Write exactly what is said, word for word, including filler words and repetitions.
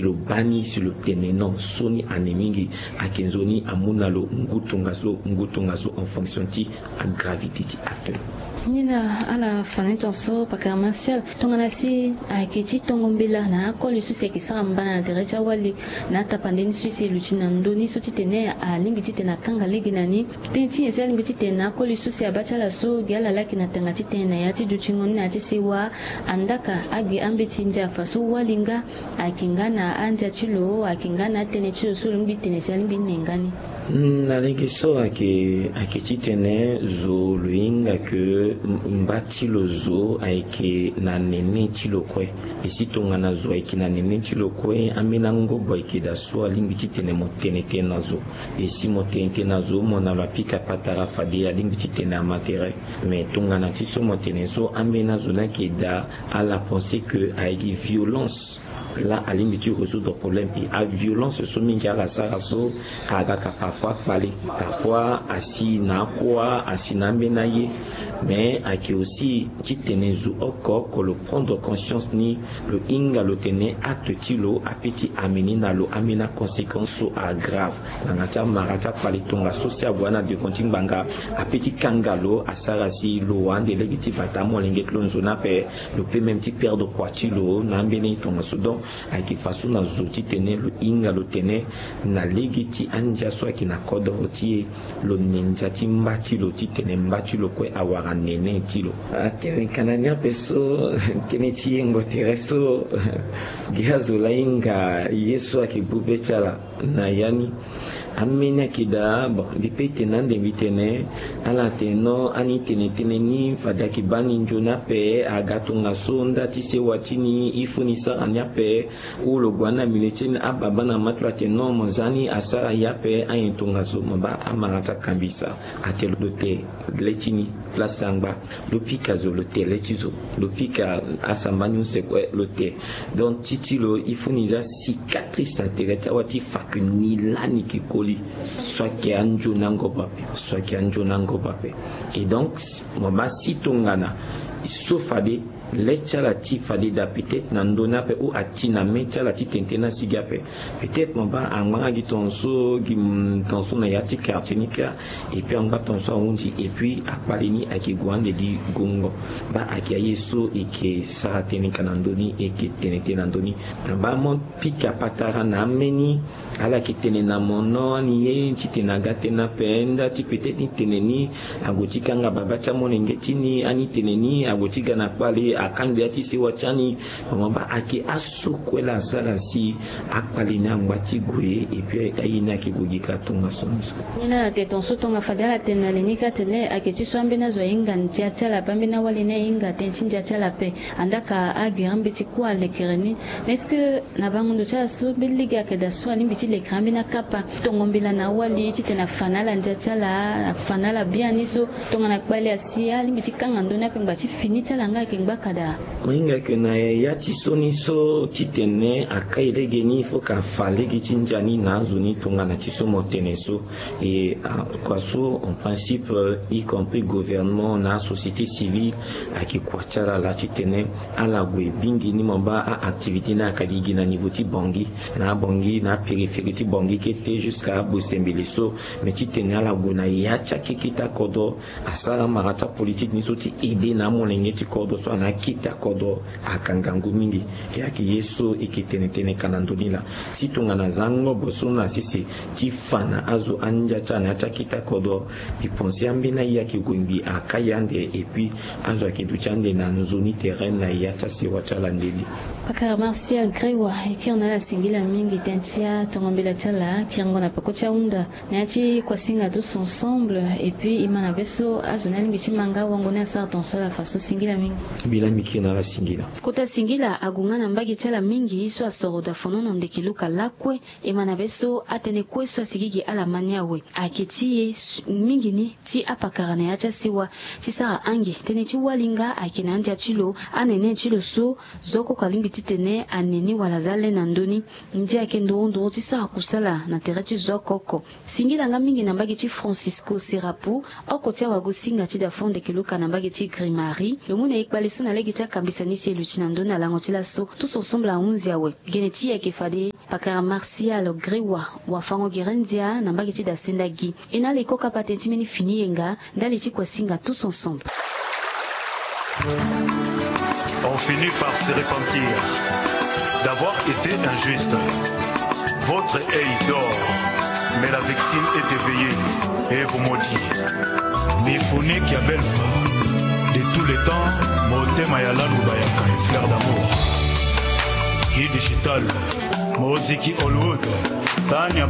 Lo baa ni si lo tene non so ni ane mingi. Ayeke nzoni amu na lo ngu tongaso ngu tongaso en fonction ti agravité ti acte. Ni na ala fa ni tonso pakara Martial. Tongana si ayeke ti tongo mbela na akoli so si ayeke sara mbana na tere ti awali na atapande ni so si e luti na ndö ni so titene alingbi titene akanga lege na ni. Tënë ti nyen si alingbi titene na akoli so si abaa ti ala so gi ala laki na tanga titene na ya ti dutingo ni na ya ti sewa. Andaka agi ambeti ndia fa so wali nga. Ayeke nga na andia ti lo ayeke nga na atënë ti lo so lo lingbi tene si alingbi ne nga ni. Na lege so ayeke ayeke titene zo lo hinga ke mba ti lo zo ayeke na nene ti lo kue. E si tongana zo ayeke na nene ti lo kue ambeni angobo ayeke daa so alingbi titene mo tene tënë na zo. E si mo tene tënë na zo mo na lo apika patara fade alingbi titene ama tere. Mais tongana ti so mo tene so ambeni azo ni ayeke daa ala pense ke ayeke violence. Laa alingbi ti résoudre problème e aviolence so mingi ala sara so. Aga ka parfois kpale parfois asi na akua asi na ambeni aye. Mais ayeke aussi titene zo oko oko lo prendre conscience ni lo hinga lo tene acte ti lo ape ti amener na lo ambeni aconséquence so agrave. Nanga ti amara ti akpale tongaso si ague na devant ti ngbanga ape ti kanga lo asara si lo wande lege ti bata amolenge ti lo nzoni ape. Lo peut même ti perdre kua ti lo na ambeni tongaso donc ayeke faso na zo titene lo hinga lo tene na lege ti andia so ayeke na kodoro ti e. Lo ne ndia ti mba ti lo titene mba ti lo kue awara nene ti lo. Atene kana ni ape so tënë ti yengo tere so gi azo laa hinga ye so ayeke gbu be ti ala. Na ya ni ambeni ayeke daa bon mbi pe tene ande mbi tene ala tene non ani tene tënë ni fade ayeke baa ni nzoni ape aga tongaso nda ti sewa ti ni il faut ni sara ni ape. Ou lo gue na milieu ti ni ababa na ma ti lo atene non mo za ni asara ye ape anyen tongaso mo baa amara ti akambisa. Atene lo te le ti ni place angba. Lo pika zo lo te le ti zo lo pika asamba ni use kue lo te. Donc ti ti lo il faut ni za cicatrice na tere ti awa ti fa ke ni lani ke koli. So ayeke anzoni angobo ape so ayeke anzoni angobo ape. Et donc mo baa si tongana so fade le ti ala ti fade daa peut-être na ndö ni ape ou ati na me ti ala ti tene tënë na si gi ape. Peut-être mo baa angba nga gi tongaso gi tongaso na ya ti quartier ni kâ. Et puis angba tongaso ahunzi et puis akpale ni ayeke gue ande gi gongo. Baa ayeke aye so e yeke sara tënë ka na ndö ni e yeke tene tënë na ndö ni. Na baa mo pika patara na ambeni ala yeke tene na mo non ani ye titene aga tënë ape nda ti peut-être ni tene ni ague ti kanga baba ti amolenge ti ni ani tene ni ague ti ga na kpale akangbi ya ti sewa ti ani. Mo baa ayeke aso kue laa asara si akpale ni angba ti gue et puis aye ni ayeke gue gi ka tongaso ni so. Ni na ala tene tongaso tonga fade ala tene na li ni kâ atene ayeke ti so ambeni azo ahinga ndia ti ala ape ambeni awali ni ahinga tënë ti ndia ti ala ape. Andaka agere mbeti kue alekere ni. Mais est-ce que na bango ndo ti ala so mbeni lege ayeke daa so alingbi ti lekere ambeni akapa tongo mbela na awali titene afa na ala ndia ti ala afa na ala biani so tongana kpale asi alingbi ti kanga ndö ni ape ngba ti fini ti ala nga ayeke ngbaka daa. Mo hinga yeke na ya ti so ni so titene akai lege ni il faut ka fa lege ti ndia ni na azo ni tongana ti so mo tene so. Et kua so en principe y compris gouvernement na asociété civile ayeke kua ti ala laa titene ala gue bingi ni mo baa a-activité ni ayaka gigi na niveau ti Bangui na abangui na apériphérie ti Bangui kete jusqu'à abosembele so. Mais titene ala gue na ya ti akeke ti akodro asara amara ti apolitike ni so ti aider na amolenge ti kodro so ana akete akodro. Aka ngangu mingi. E ayeke ye so e yeke tene tënë ka na ndö ni laa. Si tongana aza angobo so na sese ti fa na azo andia ti ala na ya ti akete akodro. Mbi pense ambeni aye ayeke gue ngbii akai ande et puis azo ayeke duti ande na nzoni terrain na ya ti asewa ti ala ndeni. Pakara Martial Grewa e kiri na ala singila mingi tënë ti atongo mbela ti ala kiringo na peko ti ahunda. Na ya ti kuasinga tous ensemble et puis e ma na be so azo ni alingbi ti ma nga wango ni asara tongaso ala fa so singila mingi. Mbi laa mbi kiri na ala singila. Kota singila ague nga na mbage ti ala mingi so asoro daa fonono ndeke luka lakue. E ma na be so atënë kue so asigi gi ala ma ni awe ayeke ti e mingi ni ti apakara na ya ti asewa ti sara ange tënë ti wali nga ayeke na andia ti lo anene ti lo so zo oko oko alingbi titene ane ni wala aza le na ndö ni. Ndia ayeke nduru nduru ti sara kusala na tere ti zo oko oko. Singila nga mingi na mbage ti Francisco Serapu oko ti awagosinga ti da fo ndeke luka na mbage ti Grimari. Lo mu na e kpale so na lege ti akambisa ni si e luti na ndö ni na lango ti laso tous ensemble ahunzi awe. Gene ti e ayeke fade. Pakara Martial Grewa, wafango gere ndia na mbage ti da senda gi. E na ala e ko kapa tënë ti mbeni fini yenga ndali ti kua singa tous ensemble. On finit par se repentir d'avoir été injuste. Votre œil dort, mais la victime est éveillée et vous maudit. Mifuni Kiabelfa, de tous les temps, motema ya landu bayaka et fleur d'amour. Guy Digital, moziki Hollywood, Tania